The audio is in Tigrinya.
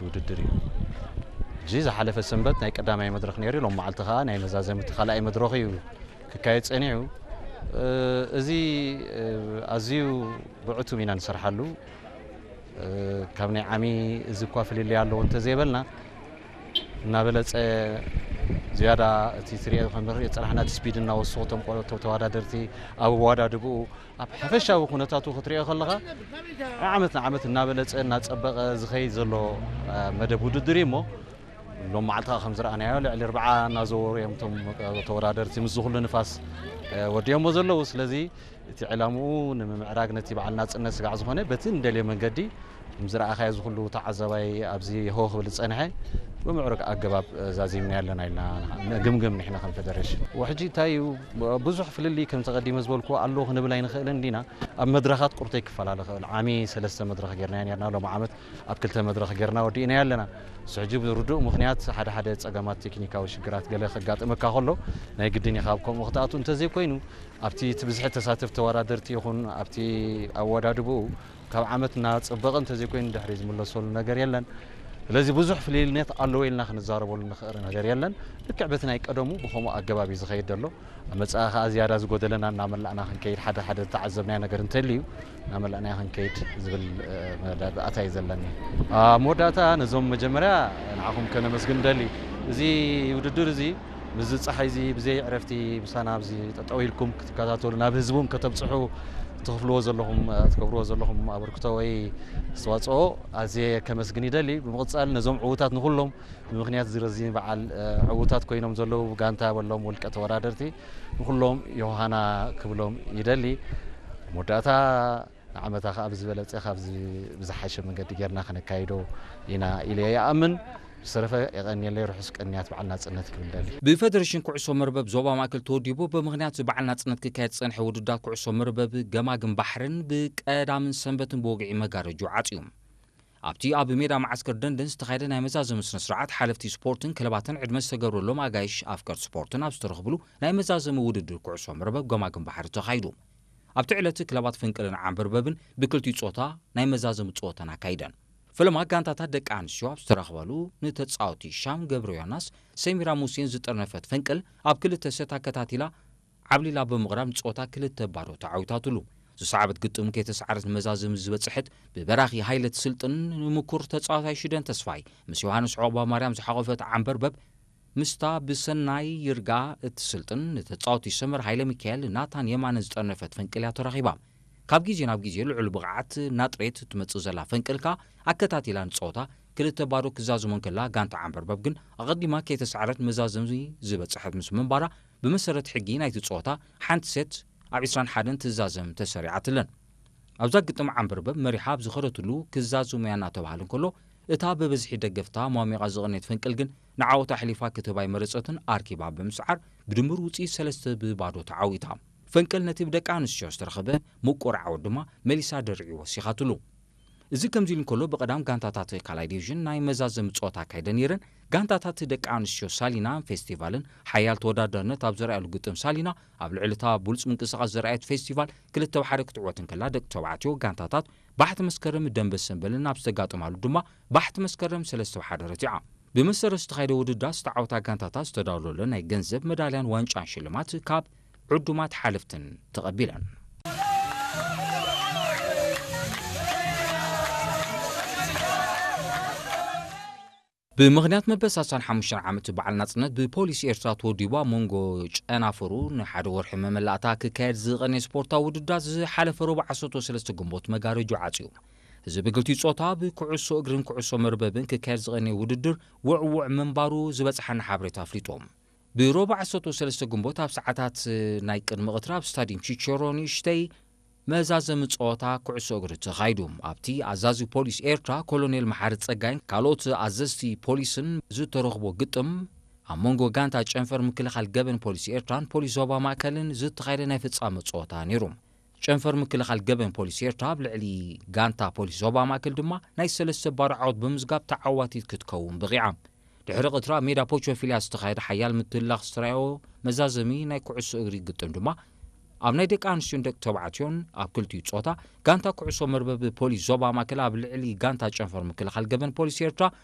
ውድድር እዩ። ሕጂ ዝሓለፈ ሰንበት ናይ ቀዳማይ መድረኽ ነይሩ፣ ሎም መዓልቲ ኸዓ ናይ መዛዘምቲ ካልኣይ መድረኽ እዩ ክካየድ ጸኒሑ። እዚ ኣዝዩ ብዕቱብ ኢና ንሰርሓሉ። ካብ ናይ ዓሚ እዚ እኳ ፍልልይ ኣለዎ እንተዘይበልና፣ እናበለጸ ዝያዳ እቲ ትሪኦ ከም ንሪኦ ዝጸናሕና እቲ ስፒድ እናወሰኹ እቶም ቆልዑ እቶም ተወዳደርቲ ኣብ ኣወዳድብኡ ኣብ ሓፈሻዊ ኩነታቱ ክትሪኦ ከለኻ ዓመት ንዓመት እናበለጸ እናጸበቐ ዝኸይድ ዘሎ መደብ ውድድር እዩ እሞ ሎም መዓልቲ ከም ዝረኣናዮ ልዕሊ ኣርብዓ እናዘወሩ እዮም እቶም ተወዳደርቲ ምስዚ ኩሉ ንፋስ ወዲኦሞ ዘለዉ። ስለዚ እቲ ዕላምኡ ንምምዕራግ ነቲ በዓል ናጽነት ስጋዕ ዝኾነ በቲ እንደልዮ መንገዲ ከም ዝረኣኻዮ እዚ ኩሉ ተዓዛባይ ኣብዚ ህው ክብል ዝጸንሐ ብምዕሩግ ኣገባብ ዛዚምና ኣለና ኢልና ንግምግም ንሕና ከም ፌደሬሽን። ወሕጂ እንታይ እዩ ብዙሕ ፍልልይ ከም ተቐዲመ ዝበልኩ ኣለዉ ክንብል ኣይንኽእልን ዲና። ኣብ መድረኻት ቁርተይ ክፈላለ ይኽእል። ዓሚ ሰለስተ መድረኽ ጌርናዮ ኔርና፣ ሎም ዓመት ኣብ ክልተ መድረኽ ጌርና ወዲእናዮ ኣለና። ንሱ ሕጂ ብርዱእ ምኽንያት ሓደ ሓደ ጸገማት ቴክኒካዊ ሽግራት ገለ ከጋጥመካ ከሎ ናይ ግድን ኢኻ ኣብ ከምኡ ክትኣቱ እንተዘይኮይኑ ኣብቲ እቲ ብዝሒ ተሳተፍቲ ተወዳደርቲ ይኹን ኣብቲ ኣወዳድብኡ ካብ ዓመት እናጸበቐ እንተዘይኮይኑ ድሕሪ ዝምለሰሉ ነገር የለን። ስለዚ ብዙሕ ፍልልይነት ኣለዎ ኢልና ክንዛረበሉ ንኽእል ነገር የለን። ልክዕ በቲ ናይ ቀደሙ ብኸምኡ ኣገባብ እዩ ዝኸይድ ዘሎ። ኣብ መጻኢ ከኣ ዝያዳ ዝጎደለና እናመላእና ክንከይድ፣ ሓደ ሓደ ዝተዓዘብናዮ ነገር እንተልዩ እናመላእና ክንከይድ ዝብል፣ እ፣ መዳእታ እዩ ዘለኒ። ኣብ መወዳእታ ነዞም መጀመርያ ንዓኹም ከነመስግን ንደሊ። እዚ ውድድር እዚ ምስዚ ጸሓይ እዚ ብዘይ ዕረፍቲ ምሳና ኣብዚ ጠጠው ኢልኩም ክትከታተሉ፣ ናብ ህዝቡም ከተብጽሑ እትኸፍልዎ ዘለኹም፣ እ፣ ትገብርዎ ዘለኹም ኣበርክቶ ወይ ኣስተዋጽኦ ኣዝየ ከመስግን ይደሊ። ብምቕጻል ነዞም ዕዉታት ንኹሎም ብምኽንያት እዚ ረዚ በዓል፣ እ፣ ዕዉታት ኮይኖም ዘለዉ ጋንታ በሎም ውልቀ ተወዳደርቲ ንኹሎም ዮሃና ክብሎም ይደሊ። መወዳእታ ንዓመታ ከኣ ብዝበለጸ ካብዚ ብዝሓሸ መንገዲ ጌርና ከነካይዶ ኢና ኢለ ይኣምን። ብዝተረፈ የቐንየለይ፣ ርሑስ ቅንያት በዓል ናጽነት ክብል ደሊ። ብፌደሬሽን ኩዕሶ መርበብ ዞባ ማእከል ተወዲቡ ብምኽንያት በዓል ናጽነት ክካየድ ዝጸንሐ ውድድራት ኩዕሶ መርበብ ገማግም ባሕርን ብቀዳምን ሰንበትን ብወግዒ መጋረጅኡ ዓጽዩ። ኣብቲ ኣብ ሜዳ መዓስከር ደንደን ዝተኻየደ ናይ መዛዘሚ ስነ ስርዓት ሓለፍቲ ስፖርትን ክለባትን ዕድመ ዝተገብረሎም ኣጋይሽ ኣፍቀርቲ ስፖርትን ኣብ ዝተረኽብሉ ናይ መዛዘሚ ውድድር ኩዕሶ መርበብ ገማግም ባሕሪ ተኻይዱ። ኣብቲ ዕለት ክለባት ፍንቅልን ዓንበርበብን ብክልቲኡ ጾታ ናይ መዛዘሚ ጸወተን ኣካይደን። ፈለማ ጋንታታት ደቂ ኣንስትዮ ኣብ ዝተረኽበሉ ንተጻወቲ ሻም ገብረ ዮናስ ሰሚራ ሙሴን ዝጠርነፈት ፈንቅል ኣብ ክልተ ሰት ኣከታቲላ ዓብሊላ ብምቕራብ ንጸወታ ክልተ ባዶ ተዓዊታትሉ። ዝሰዓበት ግጥም ከይተሰዓረት ንመዛዘሚ ዝበጽሐት ብበራኺ ሃይለ ትስልጥን ንምኩር ተጻዋታይ ሽደን ተስፋይ ምስ ዮሃንስ ዑቕባ ማርያም ዝሓቖፈት ዓንበርበብ ምስታ ብሰናይ ይርጋ እትስልጥን ንተጻወቲ ሰመር ሃይለ ሚካኤል ናታን የማነ ዝጠርነፈት ፈንቅል እያ ተረኺባ። ካብ ግዜ ናብ ግዜ ልዑል ብቕዓት ናጥሬት እትመጽእ ዘላ ፈንቅል ከኣ ኣከታቲላ ንጸወታ ክልተ ባዶ ክዛዝሞ እንከላ ጋንታ ዓንበርበብ ግን ኣቐዲማ ከይተሰዓረት መዛዘሚ ዝበጽሐት ምስ ምንባራ ብመሰረት ሕጊ ናይቲ ጸወታ ሓንቲ ሴት ኣብ ዕስራን ሓደን ትዛዘም ተሰሪዓትለን። ኣብዛ ግጥም ዓንበርበብ መሪሓ ኣብ ዝኸደትሉ ክዛዝሙያ እናተባህለ እንከሎ እታ ብብዝሒ ደገፍታ ሟሚቓ ዝቐነየት ፈንቅል ግን ንዓወት ኣሕሊፋ ክትህባ ኣይመረጸትን ኣርኪባ ብምስዓር ብድምር ውጽኢት ሰለስተ ብባዶ ተዓዊታ። ፈንቅል ነቲ ብደቂ ኣንስትዮ ዝተረኸበ ምቁር ዓወት ድማ መሊሳ ደርዒ ወሲኻትሉ። እዚ ከምዚ ኢሉ እንከሎ ብቐዳም ጋንታታት ካልኣይ ዲቪዥን ናይ መዛዘሚ ጸወታ ኣካይደ ነይረን። ጋንታታት ደቂ ኣንስትዮ ሳሊና ፌስቲቫልን ሓያል ተወዳዳርነት ኣብ ዘርኣያሉ ግጥም ሳሊና ኣብ ልዕሊ እታ ብሉጽ ምንቅስቓስ ዘርኣየት ፌስቲቫል ክልተ ብ ሓደ ክትዕወት እንከላ ደቂ ተባዕትዮ ጋንታታት ባሕቲ መስከረም ደንበ ሰንበልን ኣብ ዝተጋጠማሉ ድማ ባሕቲ መስከረም ሰለስተ ብ ሓደ ረቲዓ። ብመሰረት ዝተኻየደ ውድድራት ዝተዓወታ ጋንታታት ዝተዳለወለን ናይ ገንዘብ መዳልያን ዋንጫን ሽልማት ካብ ዕዱማት ሓለፍትን ተቐቢለን። ብምኽንያት መበል ሰላሳን ሓሙሽተን ዓመት በዓል ናጽነት ብፖሊስ ኤርትራ ተወዲቡ ኣብ መንጎ ጨናፍሩ ንሓደ ወርሒ መመላእታ ክካየድ ዝቐነየ ስፖርታዊ ውድድራት ዝሓለፈ ረቡዕ ዓሰርተ ሰለስተ ግንቦት መጋረጁ ዓጽዩ። እዚ ብክልቲኡ ጾታ ብኩዕሶ እግርን ኩዕሶ መርበብን ክካየድ ዝቐነየ ውድድር ውዕዉዕ ምንባሩ ዝበጽሓና ሓበሬታ ኣፍሊጡ። ብሮባ ዓሰርተ ሰለስተ ግንቦት ኣብ ሰዓታት ናይ ቅድሚ ቀትሪ ኣብ ስታድዩም ቺቸሮ ንእሽተይ መዛዘሚ ጸወታ ኩዕሶ እግሪ ተኻይዱ። ኣብቲ ኣዛዚ ፖሊስ ኤርትራ ኮሎኔል መሓሪ ጸጋይን ካልኦት ኣዘዝቲ ፖሊስን ዝተረኽቦ ግጥም ኣብ መንጎ ጋንታ ጨንፈር ምክልኻል ገበን ፖሊስ ኤርትራን ፖሊስ ዞባ ማእከልን ዝተኻየደ ናይ ፍጻመ ጸወታ ነይሩ። ጨንፈር ምክልኻል ገበን ፖሊስ ኤርትራ ኣብ ልዕሊ ጋንታ ፖሊስ ዞባ ማእከል ድማ ናይ ሰለስተ ባዶ ዓወት ብምዝጋብ ተዓዋቲት ክትከውን በቒዓ። ድሕሪ ቀትሪ ኣብ ሜዳ ፖቾፊልያ ዝተኻየደ ሓያል ምትላኽ ዝተራእዮ መዛዘሚ ናይ ኩዕሶ እግሪ ግጥም ድማ ኣብ ናይ ደቂ ኣንስትዮን ደቂ ተባዕትዮን ኣብ ክልቲኡ ጾታ ጋንታ ኩዕሶ መርበብ ፖሊስ ዞባ ማእከል ኣብ ልዕሊ ጋንታ ጨንፈር ምክልኻል ገበን ፖሊስ ኤርትራ